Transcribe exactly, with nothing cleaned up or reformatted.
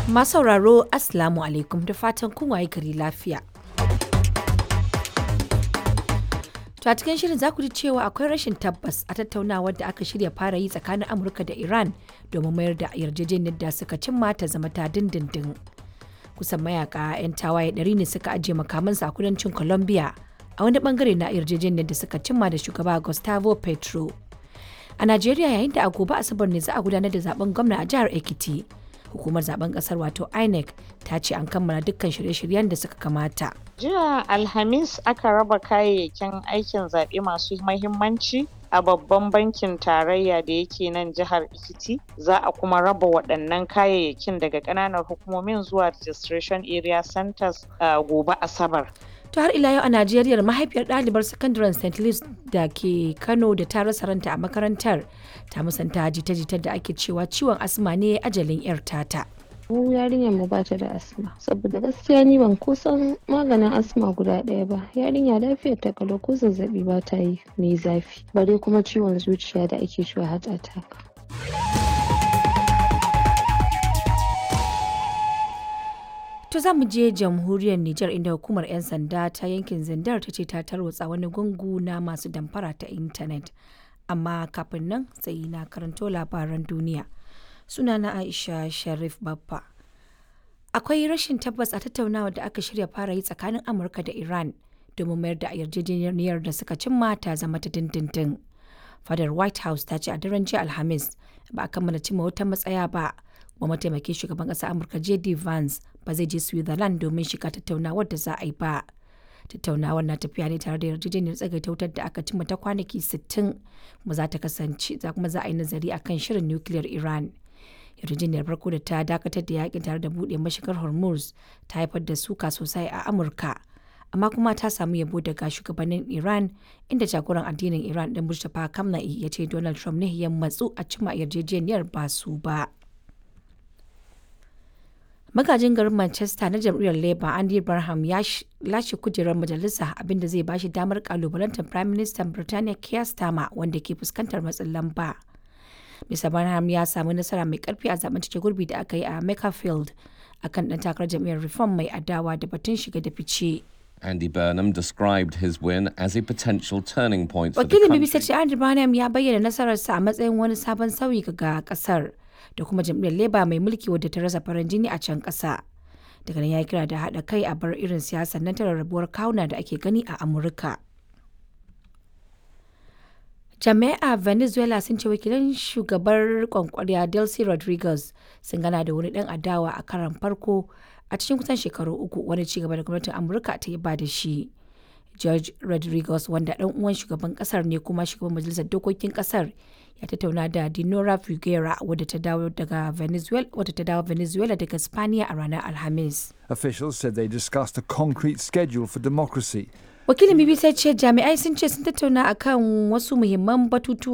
Masu sauraro, Assalamu alaikum, da fatan kun waye gari lafiya. To a cikin shirin za ku ji cewa akwai rashin tabbas a tattaunawar da aka shirya fara yi tsakanin Amurka da Iran domin mayar da yarjejeniyar da suka cimma ta zama ta dindindin. Kusan mayaka 'yan tawaye ɗari ne suka ajiye makamansu a kudancin Colombia a wani bangare na yarjejeniyar da suka cimma da shugaba Gustavo Petro. A Najeriya, yayin da a gobe Asabar ne za a gudanar da zaben gwamna a jihar Ekiti. Hukumar zaben kasar wato I N E C ta ce an kammala dukkan shirye-shiryen da suka kamata. Jiya Alhamis aka raba kayayyakin aikin zaɓe masu mahimmanci a babban bankin tarayya da yake nan jihar Ekiti. Za a kuma raba waɗannan kayayyakin daga ƙananan hukumomin zuwa registration area centers uh, gobe Asabar. To har ila yau a Najeriya, mahaifiyar ɗalibar sakandaren Saint Louis da ke Kano da ta rasa ranta a makarantar ta musanta jita-jitar da ake cewa ciwon asma ne ajalin 'yar tata. Mu yarinyar mu bata da asma, saboda gaskiya ni ban kusan maganin asma guda ɗaya ba. Yarinya lafiyar ta kalau, ko zazzabi ba ta yi mai zafi, bare kuma ciwon zuciya da ake cewa heart attack. To za mu je jamhuriyar Nijar, inda hukumar 'yan sanda ta yankin Zindar ta ce ta tarwatsa wani gungu na masu damfara ta intanet. Amma kafin nan sai na karanto labaran duniya. Sunana Aisha Sharif Babba. Akwai rashin tabbas a tattaunawa da aka shirya fara yi tsakanin Amurka da Iran domin mayar da yarjejeniyar da suka cimma ta zama ta dindindin. Fadar White House ta ce a daren jiya Alhamis ba a kammala cimma wata matsaya ba. Kuma mataimakin shugaban ƙasar Amurka J D Vance ba zai je Switzerland domin shiga tattaunawar da za a yi ba. Tattaunawar na tafiya ne tare da yarjejeniyar tsagaita wutar da aka cimma ta kwanaki sittin, kuma za ta kasance za kuma za a yi nazari akan shirin nukiliyar Iran. Yarjejeniyar farko da ta dakatar da yakin tare da buɗe mashigar Hormuz ta haifar da suka sosai a Amurka. Amma kuma ta samu yabo daga shugabannin Iran, inda jagoran addinin Iran ɗin Mustapha Khamenei ya ce Donald Trump ne ya matsu a cimma yarjejeniyar, ba su ba. Magajin garin Manchester na jam'iyyar Labour Andy Barham ya lashe kujerar majalisa, abinda zai bashi damar kalubalantar Prime Minister Birtaniya Keir Starmer wanda ke fuskantar matsin lamba. Mister Barham ya samu nasara mai karfi a zaben cike gurbi da aka yi a Makerfield akan dan takarar jam'iyyar Reform mai adawa da batun shiga da fice. Andy Burnham described his win as a potential turning point for the Wakilin B B C country. ce Andy Barham ya bayyana nasararsa a matsayin wani sabon sauyi ga kasar da kuma jam'iyyar Labour mai mulki wadda ta rasa farin jini a can ƙasa. Daga nan ya kira da haɗa kai a bar irin siyasar nan ta rarrabuwar kawuna da ake gani a Amurka. Jami'ai a Venezuela sun ce wakilan shugabar kwankwariya Delcy Rodriguez sun gana da wani ɗan adawa a karan farko a cikin kusan shekaru uku, wani cigaba da gwamnatin Amurka ta yi ba da shi. George Rodriguez, wanda ɗan uwan shugaban kasar ne kuma shugaban majalisar dokokin kasar, ya tattauna da Dinora Figuera wadda ta dawo daga Venezuela wadda ta dawo Venezuela daga Spaniya a ranar Alhamis. Officials said they discussed a concrete schedule for democracy. Wakilin B B C ce jami'ai sun ce sun tattauna akan wasu muhimman batutuwa.